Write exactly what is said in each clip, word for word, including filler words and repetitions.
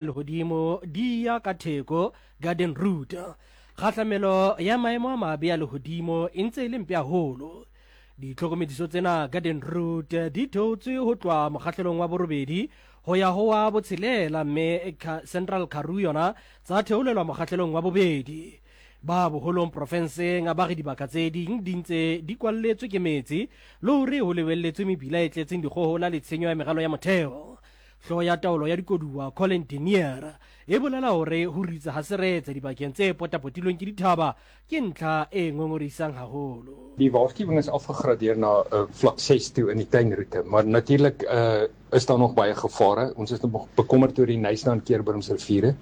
Lehodimo di ya ka theko Garden Route. Kgahlamelo ya maemo a mabe a lehodimo e ntse e le mpe haholo. Ditlhokomediso tsena Garden Route di theotswe ho tloha mokgahlelong wa borobedi ho ya ho wa botshelela, mme Central Karoo yona tsa theolelwa mokgahlelong wa bobedi. Ba boholong profenseng ba re dibaka tse ding di ntse di kwalletswe ke metsi le hore ho lebelletswe mebila e tletseng dikgohola le tshenyo ya meralo ya motheo. Hlooho ya taolo ya dikoduwa Colin Denier e bolela hore ho ritsa ha seretse dibakeng tse potapotilweng ke dithaba ke ntlha e ngongorehisang haholo. Die waarskuwing is afgegradeer na uh, vlak ses toe in die tuinroete, maar natuurlik uh, is daar nog baie gevare. Ons is nog bekommerd oor die Knysna en Keurboomse riviere.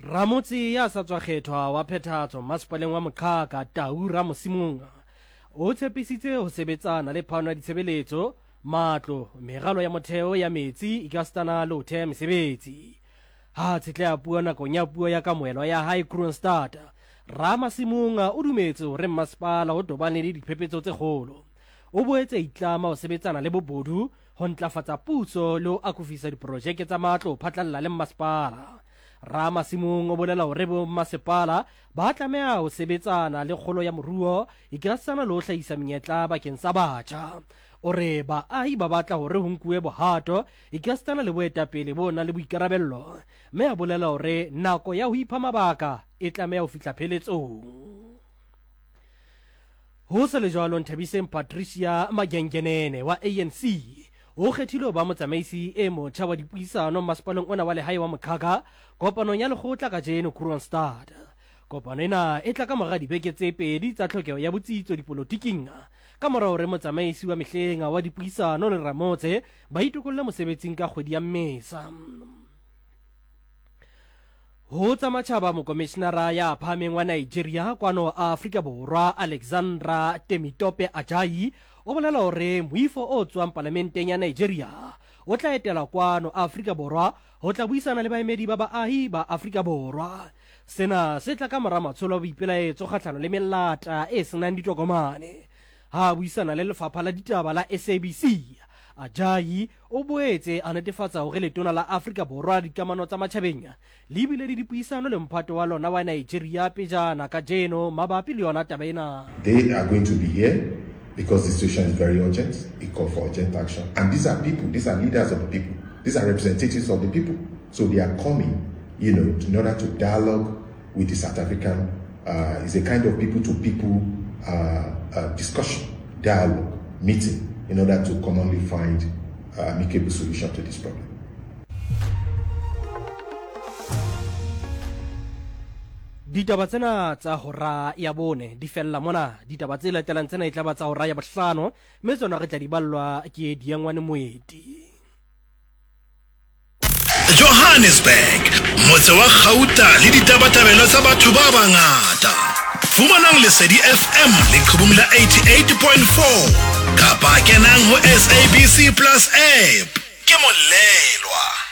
Ramotse ya sa tswa kgethwa wa phethahatso masepaleng wa Moqhaka Tau Ramosimong o tshepisitse ho sebetsana le phano ya ditshebeletso, matlo, meralo ya motheo ya metsi ekasitana le ho theha mesebetsi. Ha tshetleha puo nakong ya puo ya kamohelo ya hae Kroonstad, Ramasimong o dumetse hore mmasepala o tobane le diphephetso tse kgolo. O boetse a itlama ho sebetsana le bobodu, ho ntlafatsa puso le ho akofisa diprojeke tsa matlo ho phatlalla le mmasepala. Ramasimong o bolela hore bommasepala ba tlameha ho sebetsana le kgolo ya moruo ekasitana le ho hlahisa menyetla bakeng sa batjha. O re baahi ba batla hore ho nkuwe bohato ekasitana le boetapele bo nang le boikarabello, mme a bolela hore nako ya ho ipha mabaka e tlameha ho fihla pheletsong. Ho se le jwalo, Nthabiseng Patricia Magengenene wa A N C o kgethilwe ho ba motsamaisi e motjha wa dipuisano masepaleng ona wa lehae wa Moqhaka kopanong ya lekgotla kajeno Kroonstad. Kopano ena e tla ka mora dibeke tse pedi tsa tlhokeho ya botsitso dipolotiking ka mora hore motsamaisi wa mehleng wa dipuisano le Ramotse ba itokolle mosebetsing ka kgwedi ya Mmesa. Ho tsa matjhaba, mokomishinara ya phahameng wa Nigeria kwano Afrika Borwa Alexandra Temitope Ajayi o bolela hore moifo o tswang palamenteng ya Nigeria o tla etela kwano Afrika Borwa ho tla buisana le baemedi ba baahi ba Afrika Borwa. Sena se tla ka mora matsholo a boipelaetso kgahlano le melata e senang ditokomane. Ha buisana le lefapha la ditaba la S A B C, Ajayi o boetse a netefatsa hore letona la Afrika Borwa dikamano tsa matjhabeng le bile le dipuisano le mphato wa lona wa Nigeria pejana kajeno mabapi le yona taba ena. They are going to be here because the situation is very urgent. It calls for urgent action. And these are people, these are leaders of the people. These are representatives of the people. So they are coming, you know, in order to dialogue with the South African. Uh, it's a kind of people-to-people uh, uh, discussion, dialogue, meeting, in order to commonly find an amicable solution to this problem. Ditaba tsena tsa hora ya bone di fella mona. Ditaba tse latelang tsena e tla ba tsa hora ya bohlano, mme tsona re tla di ballwa ke Diangwane Moeti. Johannesburg, motse wa kgauta le ditabatabelo tsa batho ba bangata. Fumanang Lesedi F M leqhubung la eighty-eight point four kapa kenang ho S A B C Plus app. Ke molelwa.